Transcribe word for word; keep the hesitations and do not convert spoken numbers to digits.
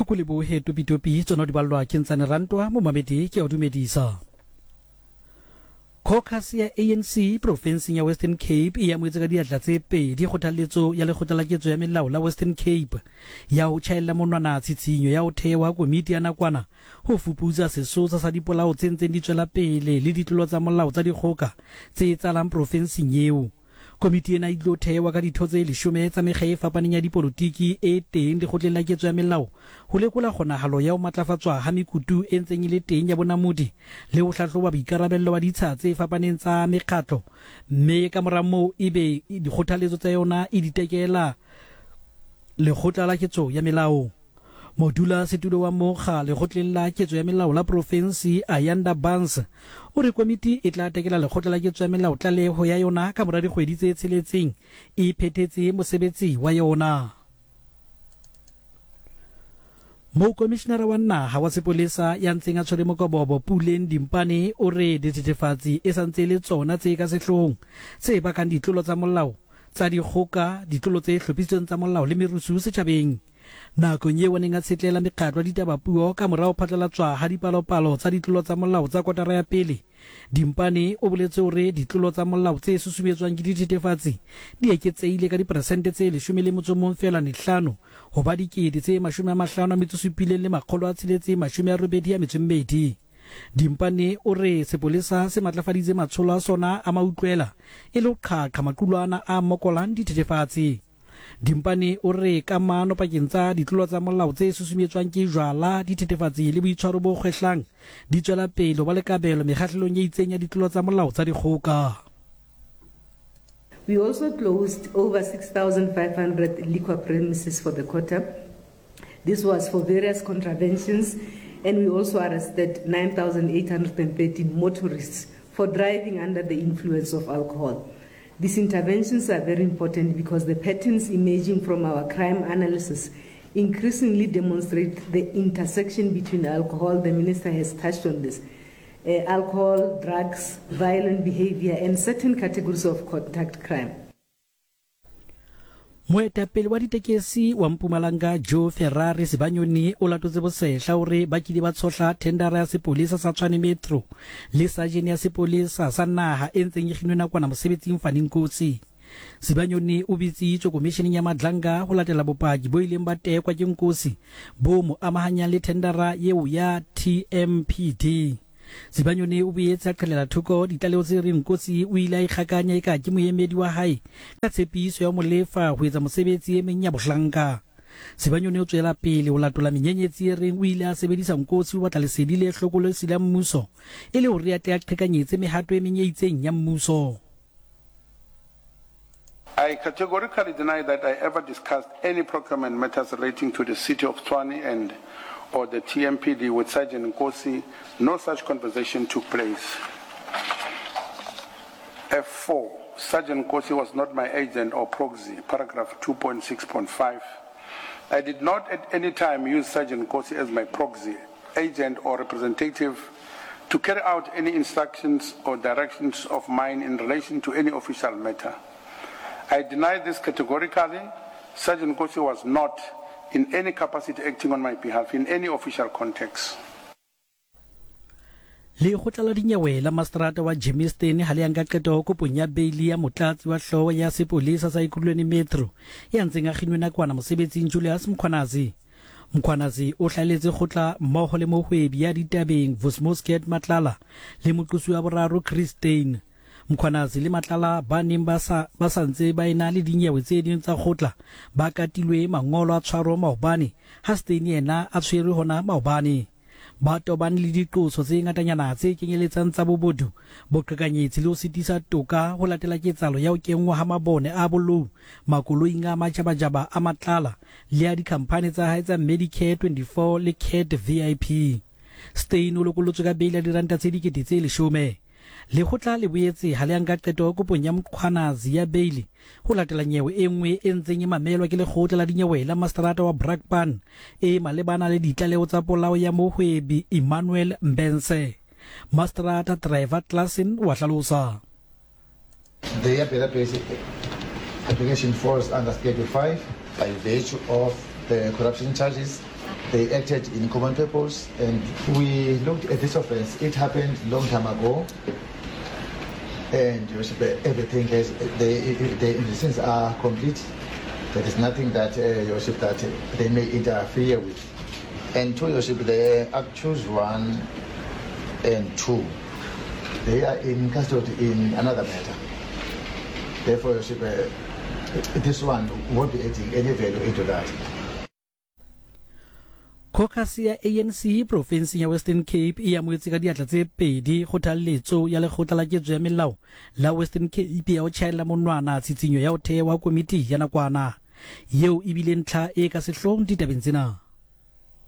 Go lebohe topitopi tsona di ballwa ke Ntsane Rantwa momamedi ke a o dumedisa. Caucus ya A N C profenseng ya Western Cape e amohetse ka diatla tse pedi kgothaletso ya lekgotla la ketso ya melao la Western Cape ya ho tjhaella monwana tshitshinyo ya ho thewa komiti ya nakwana ho fuputsa sesosa sa dipolao tse ntseng di tswela pele le ditlolo tsa molao tsa dikgoka tse etsahalang profenseng eo. Komiti ena e tlo thewa ka ditho tse leshome tsa mekga e fapaneng ya dipolotiki e teng lekgotleng la ketso ya melao ho lekola kgonahalo ya ho matlafatswa ha mekutu e ntseng e le teng ya bonamodi le ho hlahloba boikarabello ba ditsha tse fapaneng tsa mekgatlo, mme ka mora moo ebe dikgothaletso tsa yona e di tekela lekgotla la ketso ya melao. Modula setulo wa mokga lekgotleng la ketso ya melao la profensi Ayanda Barnes o re komiti e tla tekela lekgotla la ketso ya melao tlaleho ya yona ka mora dikgwedi tse tsheletseng e phethetse mosebetsi wa yona. Mokomishinara wa naha wa sepolesa ya ntseng a tshwere mokobobo Puleng Dimpane o re dithethefatsi e santse le tsona tse ka sehloohong tse bakang ditlolo tsa molao tsa dikgoka, ditlolo tse hlophisitsweng tsa molao le merusu setjhabeng. Nakong eo a neng a tshetlela mekgatlo ya ditaba puo ka morao phatlalatswa ha dipalopalo tsa ditlolo tsa molao tsa kotara ya pele, Dimpane o boletse hore ditlolo tsa molao tse susumetswang ke dithethefatsi di eketsehile ka diperesente tse leshome le motso o mong feela mehlano ho ba dikete tse mashome a mahlano a metso supileng le makgolo a tsheletseng mashome a robedi a metso e mmedi. Dimpane o re sepolesa se matlafaditse matsholo a sona a mautlwela e le ho qhaqha maqulwana a mokolang dithethefatsi. Dimpane o re kamano pakeng tsa ditlolo tsa molao tse susumetswang ke jwala, dithethefatsi le boitshwaro bo kgwehlang di tswela pele ho ba le kabelo mekgahlelong e itseng ya ditlolo tsa molao tsa dikgoka. We also closed over six thousand five hundred liquor premises for the quarter. This was for various contraventions, and we also arrested nine thousand eight hundred thirteen motorists for driving under the influence of alcohol. These interventions are very important because the patterns emerging from our crime analysis increasingly demonstrate the intersection between alcohol, the minister has touched on this, uh, alcohol, drugs, violent behavior, and certain categories of contact crime. Moetapele wa ditekesi wa Mpumalanga Joe Ferrari Sibanyoni o latotse bosehla hore ba kile ba tshohla thendara ya sepolesa sa Tshwane Metro le sajene ya sepolesa sa naha e ntseng e kginwe nakwana mosebetsing Fani Nkosi. Sibanyoni o bitsitswe komisheneng ya Madlanga ho latela bopaki bo ileng ba tekwa ke Nkosi bo mo amahanyang le thendara eo ya T M P D. Sibanyoni o boetse a qhelela thoko ditlaleho tse reng Nkosi o ile a ikgakanya eka ke moemedi wa hae ka tshepiso ya molefa ho etsa mosebetsi e meng ya bohlanka. Sibanyoni o tswela pele ho latola menyenyetsi e reng o ile a sebedisa Nkosi ho batla lesedi le hlokolosi la mmuso e le hore a tle a qhekanyetse mehato e meng e itseng ya mmuso. I categorically deny that I ever discussed any procurement matters relating to the city of Tshwane and or the T M P D with Sergeant Nkosi. No such conversation took place. F four, Sergeant Nkosi was not my agent or proxy, paragraph two point six point five. I did not at any time use Sergeant Nkosi as my proxy, agent or representative to carry out any instructions or directions of mine in relation to any official matter. I deny this categorically. Sergeant Nkosi was not in any capacity acting on my behalf in any official context. Lekgotla la dinyewe la mastrata wa Germiston ha le ya nka qeto kopong ya beili ya motlatsi wa hlooho ya sepolesa sa Ekurhuleni Metro ya ntseng a kginwe nakwana mosebetsing Julius Mkhwanazi. Mkhwanazi o hlaletse kgotla mmoho le mohwebi ya ditabeng Vusmosket Matlala le moqosi wa boraro Chris Steyn. Mkhwanazi le Matlala ba neng ba sa ba sa ntse ba ena le dinyewe tse ding tsa kgotla ba katilwe mangolo a tshwaro maobane ha Steyn yena a tshwerwe hona maobane. Ba tobane le diqoso tse ngatanyana tse kenyeletsang tsa bobodu, boqhekanyetsi le ho sitisa toka ho latela ketsahalo ya ho kenngwa ha mabone a bolou makoloing a majabajaba a Matlala le a dikhamphani tsa hae tsa Medicare twenty-four le Cat V I P. Steyn o lokolotswe ka beili ya diranta tse dikete tse leshome. Lekgotla le boetse ha le ya nka qeto kopong ya Mkhwanazi ya beili ho latela nyewe e nngwe e ntseng e mamelwa ke lekgotla la dinyewe la mastrata wa Brakpan e malebana le ditlaleho tsa polao ya mohwebi Emmanuel Mbense. Mastrata Trevor Klassen wa hlalosa. The application falls under Schedule five by virtue of the corruption charges They acted in common purpose, and we looked at this offense. It happened long time ago, and Your Worship, everything has, the, the investigations are complete. There is nothing that, uh, Your Worship, that they may interfere with. And two, Your Worship, the accused one and two, they are in custody in another matter. Therefore, Your Worship, uh, this one won't be adding any value into that. Caucus ya A N C profenseng ya Western Cape e amohetse ka diatla tse pedi kgothalletso ya lekgotla la ketso ya melao la Western Cape ya ho tjhaella monwana tshitshinyo ya ho thehwa komiti ya nakwana yeo e bile ntlha e ka sehloohong ditabeng tsena.